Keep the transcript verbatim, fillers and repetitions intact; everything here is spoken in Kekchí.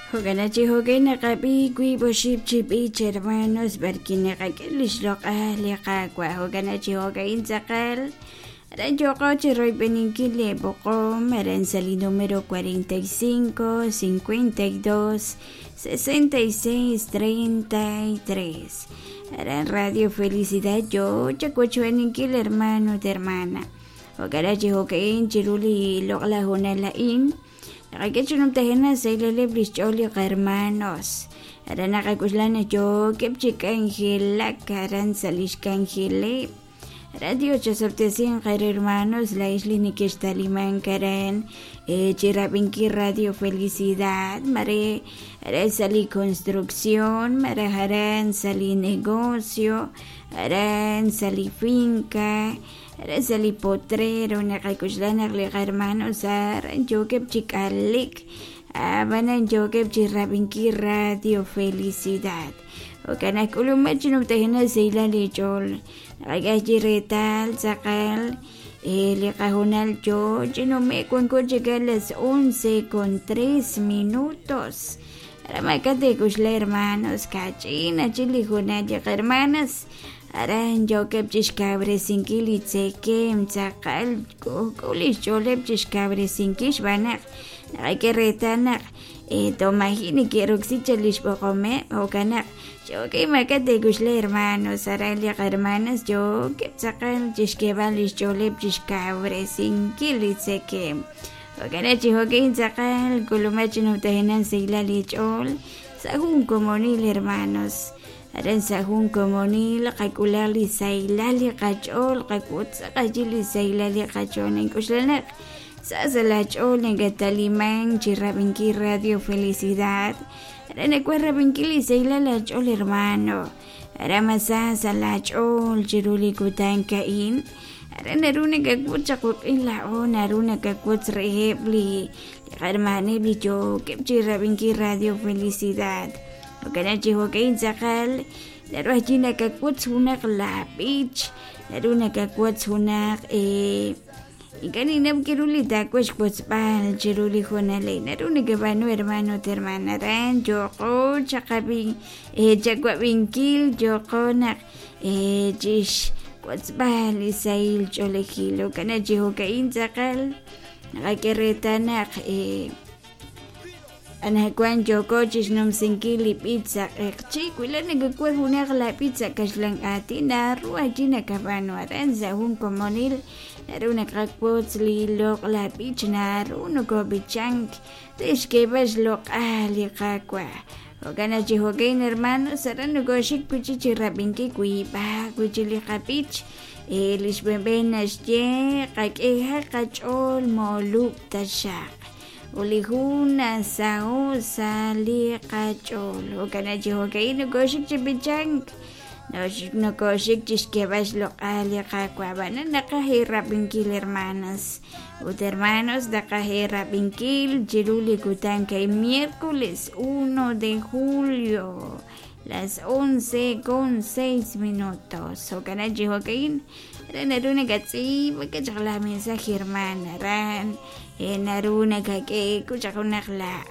Jo'kan chi jo'kan naqab'i wiib' oxib' chi b'ich hermanos b'arki naqak'e li xloq'al li Qaawa' jo'kan chi jo'ka'in tz'aqal aran yo'qo chi royb'eninkil li b'oqom aran sa' li número cuarenta y cinco, cincuenta y dos, sesenta y seis, treinta y tres aran Radio Felicidad yo chakochb'eninkil hermano ut hermana jo'kan chi jo'ka'in chiru li loq'laj honal a'in naqak'e chunumtajena saylaleb' li xch'ool li hermanos aran naqak'uxlan yookeb' chi k'anjelak aran sa' li xk'anjeleb' Radio chasabtesin qer hermanos la isla nikextaliman karan chirab'inki Radio Felicidad mare aran sa' li construcción mare aran sa' li negocio aran sa' li finca aran sa' li potrero naqak'uxlan naq li hermanos aran yookeb' chi k'alik ab'anan yookeb' chirab'inki Radio Felicidad jo'kan k'ulumej chinumtajena sayla li ch'ool naqak'e chi reetal tz'aqal li qajunal yo chinume' wanko chika las once con tres minutos aramaka tek'uxla hermanos kach'in achi li junal li hermanas aran yookeb' chixkab'resinkil li tzekem tz'aqal k'uuli xch'ooleb' chixkab'resinkil xb'anaq naqak'e reetal naq tomajin keroksi li xb'oqomeb' jo'kan naq yookeb' maka tek'uxla hermanos aran li hermanas yookeb' tz'aqal chixk'eeb'al li xch'ooleb' chixkab'resinkil li tzekem jo'kan chi jo'kin tz'aqal k'ulumej chinumtajenan sayla li ch'ool sa' jun komonil hermanos aran sa' jun komonil qak'ulaj li sayla li qach'ool qak'ut tz'aqal li sayla li qach'ool ink'uxlanaq sa' sa' la ch'ool nakataliman chi rab'inki Radio Felicidad aran nakuaj rab'inki li sayla la ch'ool hermano aran masa sa' la ch'ool chiru li kutan ka'in aran naru nakak'ut chaquk'in la'o naru nakak'ut reheb' li hermaneb' li yookeb' chi rab'inki Radio Felicidad jo'kan chi jo'ka'in tz'aqal naru ajwi' nakak'ut junaq la b'ich naru nakak'ut junaq eh ink'a' ninam kiru li taakuex wotzb'al chiru li junal naru nakab'aanu hermano ut hermana aran yo'qo chaqab'in eh chakwab'inkil yo'qo naq eh chix wotzb'al li sahil ch'oolejil jo'kan chi jo'ka'in tz'aqal naqak'e reetal naq eh anajwan yo'qo chixnumsinkil li b'ich sa' q'eqchi wila nakak'ul junaq la b'ich sa' kaxlan aatin naru ajwi' nakab'aanu aran sa' jun komonil naru naqak'ut li loq' la b'ich naru nokob'ichank rixk'eeb'al xloq'al li Qaawa' jo'kan chi jo'kan hermanos aran nokoxik wichi chi rab'inki wiib'aq wichi li qab'ich eh li xb'enb'en naxye qak'eha qach'ool molub' taxaq uli jun saho sa li qach'ool jo'kan chi jo'kan nokoxik chi b'ichank nokoxik chixk'eeb'al xloq'al li Qaawa' b'anan naqaj rab'inkil hermanas ut hermanos naqaj rab'inkil chiru li kutan kay miércoles uno de julio las once con seis minutos jo'kan chi jo'kan aran naru nakatz'iib'a kachaq la mensaje hermana aran naru nakak'e kuchaq junaq la